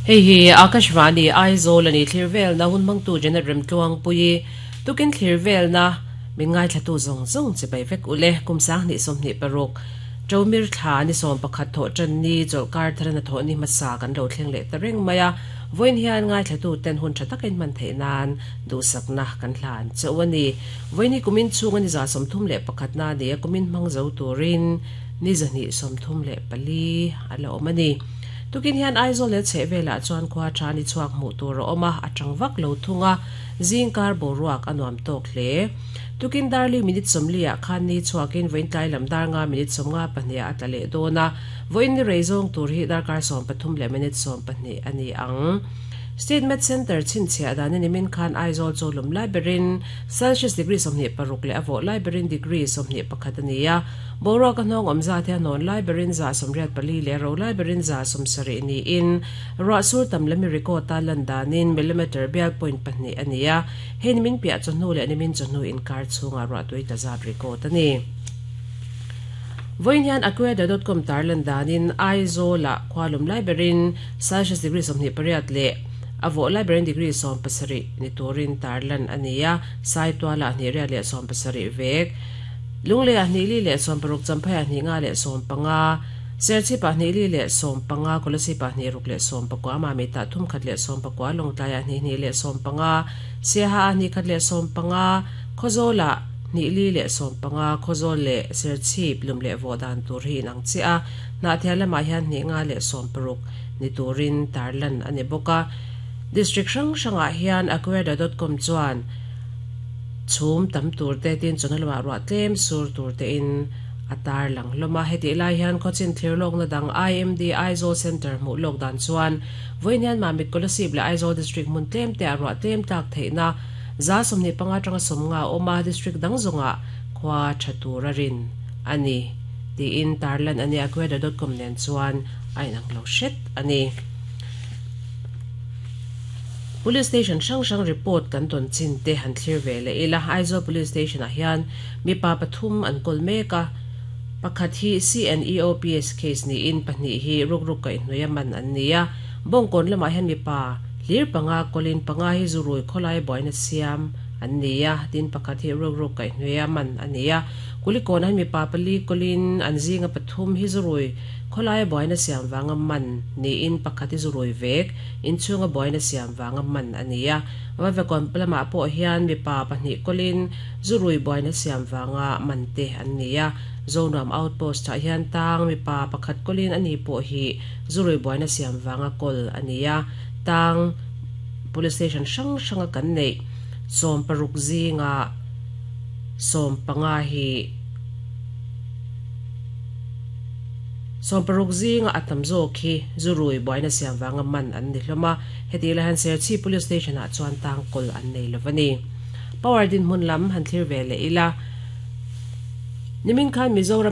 Hei hi Akashvani Aizawl a ni thlir velna hun hmangtu Janet Remtluangpuii tukin thlir velna min ngaithlatu zawng zawng chibai vek ule kum 2026 Ṭomir thla ni 11 thawh ṭan ni chawlhkar thar hnathawh ni hmasa kan lo thleng leh ta reng mai a, vawiin hian ngaithlatu ten hun ṭha takin hman theih nan duhsakna kan hlan chauh a ni. Vawiin hi kumin chhunga ni 31 na a ni a, kumin hmang zo turin ni 234 a la awm a ni. Tukin hian Aizawl leh chheh velah chuan khua ṭha ni chhuak hmuh tur a awm a, a ṭang vak lo thung a, zingkar boruak a nuam tawk hle. Tukin darli minute 40 ah khan ni chhuakin vawiin tlai lam dar nga minute 52 ah a tla leh dawn a, vawiin ni rei zawng tur hi darkar 13 leh minute 12 a ni ang. State Med Centre chhinchhiah dan in nimin khan Aizawl chu lum lai berin Celsius degree 26 leh a vawh lai berin degree 21 a ni a, boruak a hnawng awm zat hi a hnawn lai berin 84 leh ro lai berin 70 niin ruah sur tam lami record a lan danin millimetre bial point pahnih a ni a. Hei nimin piah chawhnu leh nimin chawhnu inkar chhungah ruahtui ta zat record a ni. Vawiin hian Aqueada.com tarlan danin Aizawl-ah khua lum lai berin Celsius degree 28 leh a vawh lai berin degree 17 ni turin tarlan a ni a, Saitualah hnih riat leh 70 vek, Lungleiah hnih li leh 60, Champhaiah hnih nga leh 15, Serchhipah hnih li leh 15, Kolasibah hnih ruk leh 19, Mamitah thum khat leh 19, Lawngtlaiah hnih hnih leh 15, Siaha ah hnih khat leh 15, Khawzawlah hnih li leh 15, Khawzawl leh Serchhip lum leh vawh dan tur hi inang chiah a, Hnahthial lamah hian hnih nga leh 60 ni turin tarlan a ni bawk a. District hrang hrangah hian Aqueada.com chuan chhum tam tur te tin chawhnu lamah ruah tlem sur tur tein a tarlang hlawm a. Hetih lai hian khawchin thlir lawkna dang IMD Aizawl Centre hmuh lawk dan chuan vawiin hian Mamit Kolasib leh Aizawl District hmun tlem te ah ruah tlem tlak theihna 25 atanga 50 a awm a, District dang zawngah khua tha tur a rin a ni tiin tarlan a ni. Aqueada.com nen chuan a inang lo hret a ni. Police Station hrang hrang report kan tawn chin te han thlir ve leh ila. Aizawl Police Station ah hian mipa pathum an kawl mek a, pakhat hi CNEOPS case niin pahnih hi rukruk kaihhnawih a man an ni a. Bawngkawn lamah hian mipa hlir panga kawlin panga hi zurui khawlai buaina siam an ni a, tin pakhat hi rukruk kaihhnawih a man a ni a. Kulikawnah hian mipa pali kawlin an zinga pathum hi zurui khawlai buaina siam vanga man niin pakhat hi zurui vek inchhunga buaina siam vanga man a ni a. Vavekawn lamah pawh hian mipa pahnih kawlin zurui buaina siam vanga man te an ni a. Zonuam Outpost ah hian tang mipa pakhat kawlin a ni pawh hi zurui buaina siam vanga kawl a ni a. Tang Police Station hrang hranga kan neih 16 zinga 15 hi 16 zinga a tam zawk hi zurui buaina siam vanga man an ni hlawm a. Heti lai hian Serchhip Police Station ah chuan tang kawl an nei lo a ni. Power dinhmun lam han thlir ve leh ila. Nimin khan Mizoram.